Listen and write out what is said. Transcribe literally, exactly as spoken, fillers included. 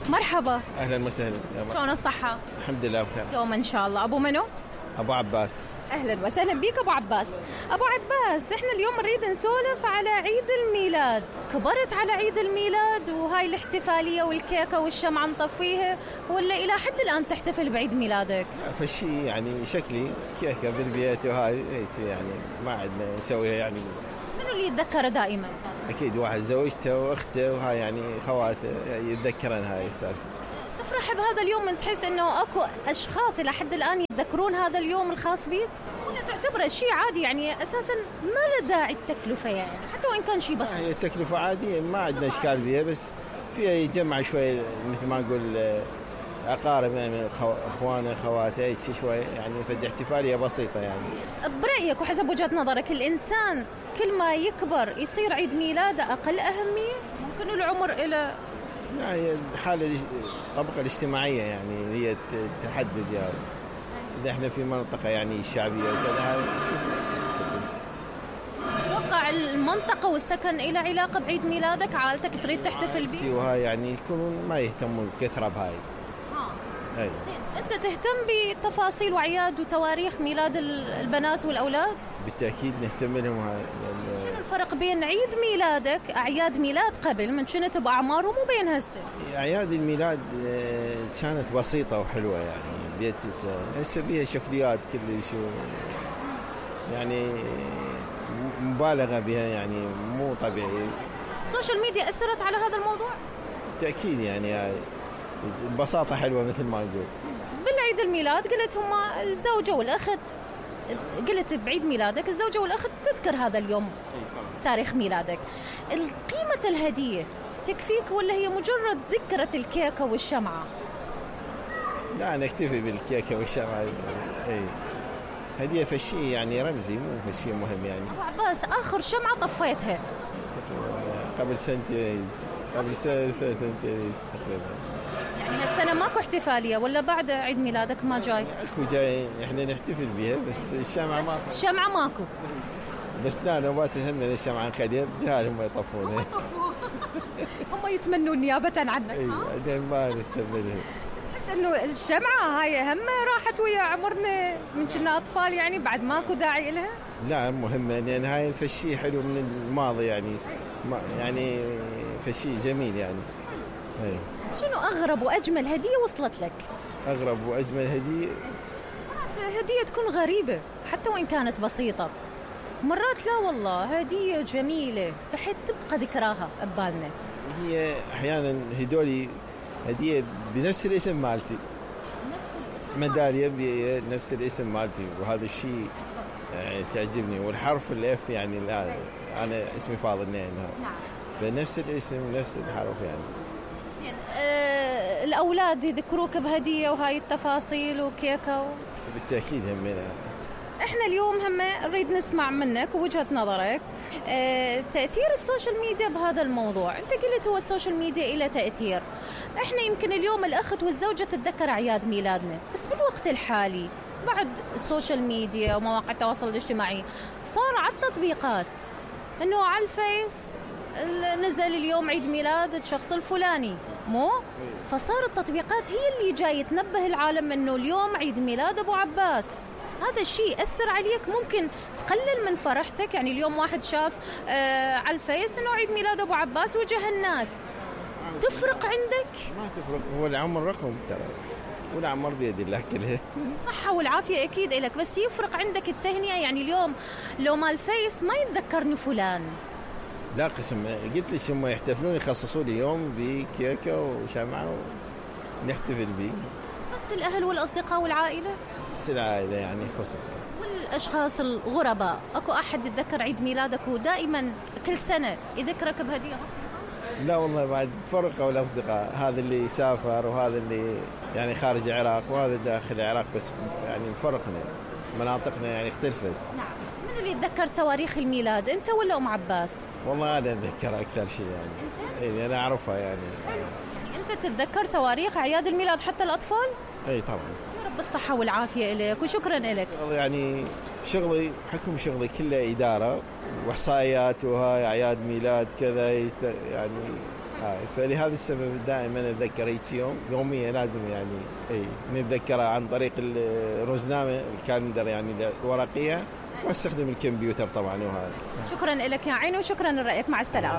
مرحبا. اهلا وسهلا. شلون الصحة؟ الحمد لله بخير. يوم ان شاء الله. ابو منو؟ ابو عباس. اهلا وسهلا بيك ابو عباس. ابو عباس، احنا اليوم نريد نسولف على عيد الميلاد. كبرت على عيد الميلاد وهاي الاحتفالية والكيكة والشمعة نطفيها، ولا الى حد الان تحتفل بعيد ميلادك؟ فشي يعني شكلي كيكة بالبيت وهاي هيك يعني ما عندنا نسويها يعني. منو اللي يتذكره دائما؟ اكيد واحد زوجته واخته وهاي يعني خواته يتذكرن هاي السالفة. تفرح بهذا اليوم من تحس انه اكو اشخاص الى حد الان يتذكرون هذا اليوم الخاص بيك، ولا تعتبره شيء عادي يعني اساسا ما له داعي التكلفه يعني حتى وان كان شيء بسيط؟ هي التكلفة عادية ما عندنا اشكال بيها، بس فيها يجمع شوي مثل ما نقول اقارب يعني اخوانه خواته هيك شوي يعني فد احتفاليه بسيطه يعني. برايك وحسب وجهه نظرك الانسان كل ما يكبر يصير عيد ميلاده اقل اهميه؟ ممكن العمر الى لا هي الحاله الطبقه الاجتماعيه يعني هي تحدد يعني. اذا احنا في منطقه يعني شعبيه وكذا اتوقع المنطقه والسكن إلى علاقه بعيد ميلادك، عائلتك تريد تحتفل به وهاي يعني يكونون ما يهتموا بكثره بهاي. اه زين، انت تهتم بتفاصيل واعياد وتواريخ ميلاد البنات والاولاد؟ بالتاكيد نهتم لهم. هاي شنو الفرق بين عيد ميلادك اعياد ميلاد قبل من كنت باعمارهم وبين هسه؟ اعياد الميلاد كانت بسيطه وحلوه يعني بيت هسه بيها شكليات كل شيء يعني مبالغه بها يعني مو طبيعي. السوشيال ميديا اثرت على هذا الموضوع؟ بالتاكيد يعني البساطه حلوه مثل ما نقول. بالعيد الميلاد قلت هما الزوجه والاخت، قلت بعيد ميلادك الزوجه والاخت تذكر هذا اليوم تاريخ ميلادك. قيمه الهديه تكفيك ولا هي مجرد ذكرى الكيكه والشمعه؟ لا نكتفي بالكيكه والشمعه. اي هديه فشي يعني رمزي مو فشي مهم يعني. ابو عباس، اخر شمعه طفيتها قبل سنتين قبل سنه سنتين تقريبا. يعني هالسنه ماكو احتفاليه ولا بعد عيد ميلادك ما جاي؟ اكو جاي احنا نحتفل بها بس الشمعه ماكو. الشمعه ماكو بس لا نوبات هم الشمعه نخليها جهال هم يطفونها. هم يتمنون نيابه عنك. اي بعدين ما نهتم لها. تحس انه الشمعه هاي هم راحت ويا عمرنا من كنا اطفال يعني بعد ماكو داعي لها؟ لا مهمه لان يعني هاي فشي حلو من الماضي يعني يعني فشي جميل يعني. هي. شنو أغرب وأجمل هدية وصلت لك؟ أغرب وأجمل هدية مرات هدية تكون غريبة حتى وإن كانت بسيطة، مرات لا والله هدية جميلة بحيث تبقى ذكراها ببالنا. هي أحيانا هدولي هدية بنفس الاسم مالتي، نفس الاسم ميدالية بنفس الاسم مالتي، وهذا الشيء يعني تعجبني. والحرف الإف يعني الآن أنا اسمي فاضل نين. نعم. بنفس الاسم نفس الحرف يعني. زين أه الأولاد يذكروك بهدية وهاي التفاصيل وكيكة و... بالتأكيد همنا. احنا اليوم هم نريد نسمع منك ووجهة نظرك اه تأثير السوشيال ميديا بهذا الموضوع. انت قلت هو السوشيال ميديا إلى تأثير. احنا يمكن اليوم الأخت والزوجة تتذكر أعياد ميلادنا، بس بالوقت الحالي بعد السوشيال ميديا ومواقع التواصل الاجتماعي صار على التطبيقات انه على الفيس نزل اليوم عيد ميلاد الشخص الفلاني مو؟ فصار التطبيقات هي اللي جاي تنبه العالم انه اليوم عيد ميلاد ابو عباس. هذا الشيء أثر عليك؟ ممكن تقلل من فرحتك؟ يعني اليوم واحد شاف آه على الفيس انه عيد ميلاد ابو عباس وجهناك، تفرق عندك؟ ما تفرق، هو العمر رقم ترى والعمر بيد الله كلها. صحة والعافية أكيد إلك، بس يفرق عندك التهنئة. يعني اليوم لو ما الفيس ما يتذكرني فلان. لا قسم، قلت لي هم يحتفلون يخصصوا لي يوم بكيكة وشمعة ونحتفل به. بس الأهل والأصدقاء والعائلة؟ بس العائلة يعني خصوصا. والأشخاص الغرباء، أكو أحد يتذكر عيد ميلادك ودائما كل سنة يذكرك بهدية بسيطة؟ لا والله بعد تفرقوا الأصدقاء، هذا اللي سافر وهذا اللي يعني خارج العراق وهذا داخل العراق، بس يعني فرقنا مناطقنا يعني اختلفت. نعم. من اللي يتذكر تواريخ الميلاد، أنت ولا أم عباس؟ والله أنا أتذكر أكثر شيء يعني. أنت؟ إيه أنا أعرفها يعني. حلو. يعني أنت تتذكر تواريخ أعياد الميلاد حتى الأطفال؟ إيه طبعا. يا رب الصحة والعافية لك وشكرا لك. يعني شغلي حكم شغلي كله إدارة وإحصائيات وهاي أعياد ميلاد كذا يعني آه فلهذا السبب دائما اتذكر هيك يوم يوميا لازم يعني اي نتذكرها عن طريق الروزنامه الكالندر يعني الورقيه، واستخدم الكمبيوتر طبعا. وهذا شكرا لك يا عيني وشكرا لرايك، مع السلامه.